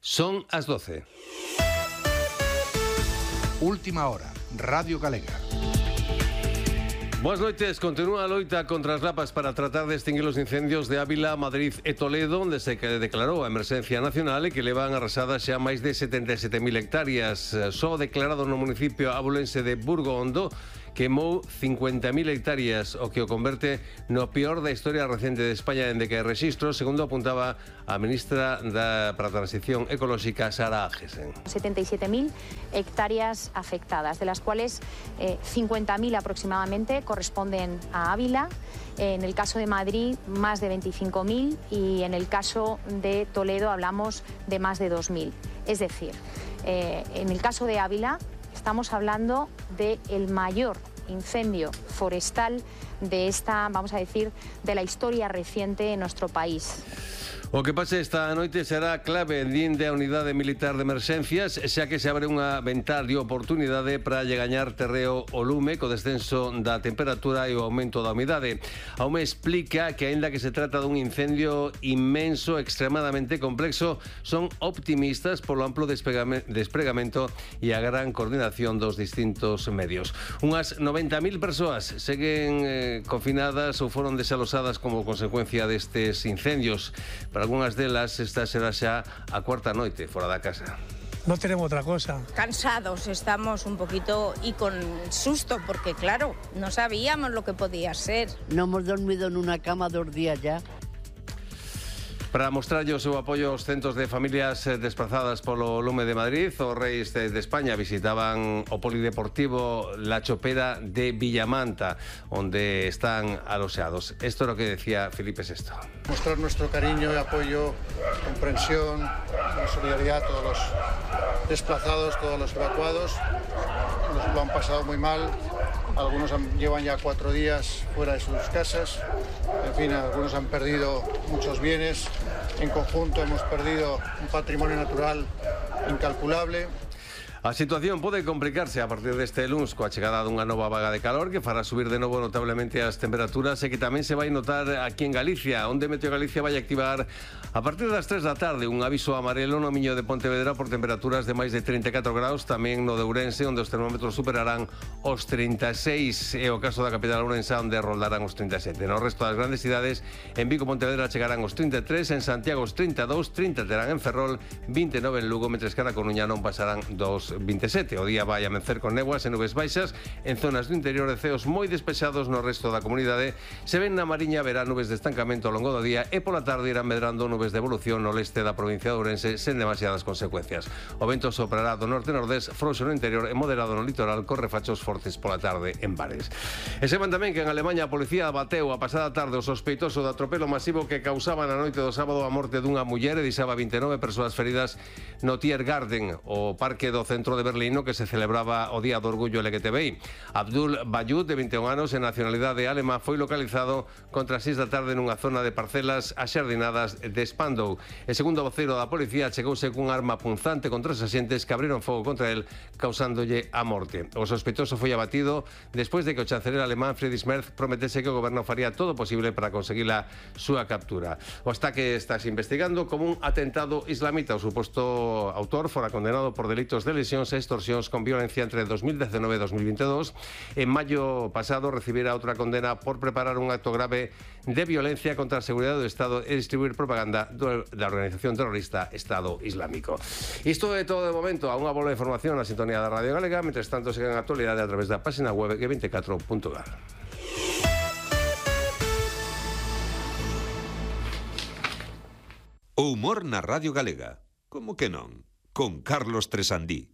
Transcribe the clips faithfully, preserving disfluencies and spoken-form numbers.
Son as doce. Última hora, Radio Galega. Boas noites, continúa a loita contra as lapas para tratar de extinguir os incendios de Ávila, Madrid e Toledo, onde se declarou a emerxencia nacional e que levan arrasadas xa máis de setenta e sete mil hectáreas. Só declarado no municipio abulense de Burgo Hondo queimou cincuenta mil hectáreas, o que o converte no peor da historia recente de España dende que hai rexistro, segundo apuntaba a ministra da, para a Transición Ecolóxica, Sara Agesen. setenta y siete mil hectáreas afectadas, de las cuales eh, cincuenta mil aproximadamente corresponden a Ávila. En el caso de Madrid, más de veinticinco mil, y en el caso de Toledo hablamos de más de dos mil. Es decir, eh, en el caso de Ávila estamos hablando del mayor incendio forestal de esta, vamos a decir, de la historia reciente en nuestro país. O que pase esta noite será clave dende a Unidade Militar de Emerxencias, xa que se abre unha ventá de oportunidade para lle gañar terreo o lume co descenso da temperatura e o aumento da humidade. A U M E explica que, aínda que se trata dun incendio inmenso, extremadamente complexo, son optimistas polo amplo despregamento e a gran coordinación dos distintos medios. Unhas noventa mil persoas seguen eh, confinadas ou foron desalosadas como consecuencia destes incendios. Para algunhas delas, esta será xa a cuarta noite fora da casa. No tenemos otra cosa. Cansados estamos un poquito y con susto, porque claro, no sabíamos lo que podía ser. No hemos dormido en una cama dos días ya. Para mostrarlle o seu apoio aos centos de familias desplazadas polo lume de Madrid, os reis de España visitaban o polideportivo La Chopera de Villamanta, onde están aloxados. Esto é o que decía Felipe sexto. Mostrar nuestro cariño y apoyo, comprensión y solidaridad a todos los desplazados, todos los evacuados. Nos lo han pasado muy mal. Algunos han, llevan ya cuatro días fuera de sus casas. En fin, algunos han perdido muchos bienes. En conjunto hemos perdido un patrimonio natural incalculable. A situación pode complicarse a partir deste luns coa chegada dunha nova vaga de calor que fará subir de novo notablemente as temperaturas e que tamén se vai notar aquí en Galicia, onde Meteo Galicia vai activar a partir das tres da tarde un aviso amarelo no Miño de Pontevedra por temperaturas de máis de trinta e catro graus, tamén no de Ourense, onde os termómetros superarán os trinta e seis, e o caso da capital ourensa, onde roldarán os trinta e sete. No resto das grandes cidades, en Vigo e Pontevedra chegarán os trinta e tres, en Santiago os trinta e dous, trinta terán en Ferrol, vinte e nove en Lugo, mentres que na Coruña non pasarán dos vinte e sete. O día vai amencer con néboas e nubes baixas en zonas do interior e ceos moi despexados no resto da comunidade. Se ven na Mariña verá nubes de estancamento ao longo do día e pola tarde irán medrando nubes de evolución no leste da provincia de Ourense sen demasiadas consecuencias. O vento soprará do norte-nordés, frouxo no interior e moderado no litoral, con refachos fortes pola tarde en bares. E sepan tamén que en Alemanha a policía bateu a pasada tarde o sospeitoso do atropelo masivo que causaba na noite do sábado a morte dunha muller e deixaba vinte e nove persoas feridas no Tiergarten, o parque do centro de Berlín, que se celebraba o Día do Orgullo L G T B I. Abdul Bayud, de vinte e un anos, en nacionalidade alema, foi localizado contra as seis da tarde nunha zona de parcelas axardinadas de Spandau. E segundo o voceiro da policía, chegouse cun arma punzante contra os axentes que abriron fogo contra el, causándolle a morte. O sospeitoso foi abatido despois de que o chanceler alemán Friedrich Merz prometese que o goberno faría todo o posible para conseguir a súa captura. O ataque estás investigando como un atentado islamita. O suposto autor fora condenado por delitos de lesións e extorsións con violencia entre dos mil diecinueve e dos mil veintidós. En maio pasado recibira outra condena por preparar un acto grave de violencia contra a seguridade do Estado e distribuir propaganda da organización terrorista Estado Islámico. Isto é todo de momento. A unha bola de información na sintonía da Radio Galega. Mentres tanto, seguen a actualidade a través da página web G veinticuatro punto gal. O humor na Radio Galega. Como que non? Con Carlos Tresandí.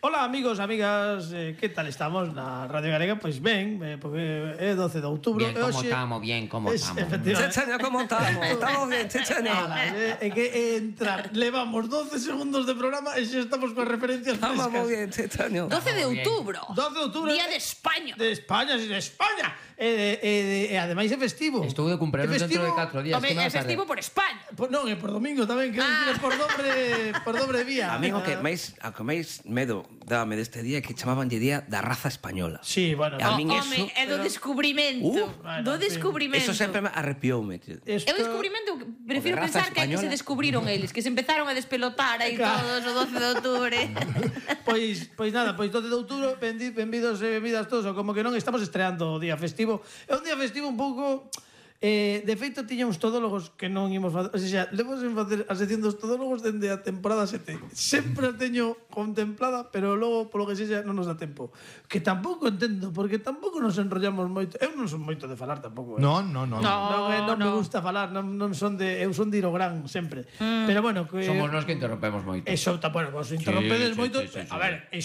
Hola amigos, amigas, eh, que tal estamos na Radio Galega? Pois ben, eh, porque é doce de outubro. Bien, como estamos, bien, como estamos. Chechenia, como estamos? Estamos bien, Chechenia. É que entrar, levamos doce segundos de programa e xa estamos con referencias frescas. Estamos moi bien, Chechenia. doce de outubro. doce de outubro. Día de España. De España, sí, de España. E, e, e ademais é festivo. Estou de cumpleaños dentro de catro días. Home, é festivo por España. Por, non, é por domingo tamén, que ah. é por dobre, por dobre vía. A mí o que máis, a que máis medo dábame deste día que chamabanlle día da raza española. Sí, bueno. E a min eso... Home, é do descubrimento. Uh, do descubrimento. Eso sempre me arrepioume. É o descubrimento, prefiro pensar que, que se descubriron eles, que se empezaron a despelotar aí todos o doce de outubro. Pois, pois nada, pois doce de outubro, benvidos e benvidas todos, ou como que non estamos estreando o día festivo. É un día festivo un pouco... Eh, de feito, tiña uns todólogos que non imos facer... O sea, levos en facer a sección dos todólogos dende a temporada sete. Sempre a teño contemplada, pero logo, polo que sexa, non nos dá tempo. Que tampouco entendo, porque tampouco nos enrollamos moito. Eu non son moito de falar tampouco. Eh. Non, non, non. Non, non, eh, non no. me gusta falar, non, non son de... Eu son de ir ao gran, sempre. Mm. Pero bueno... Que... Somos nós que interrompemos moito. Eso, bueno, vos interrompedes sí, moito. Sí, sí, sí, a ver, sí.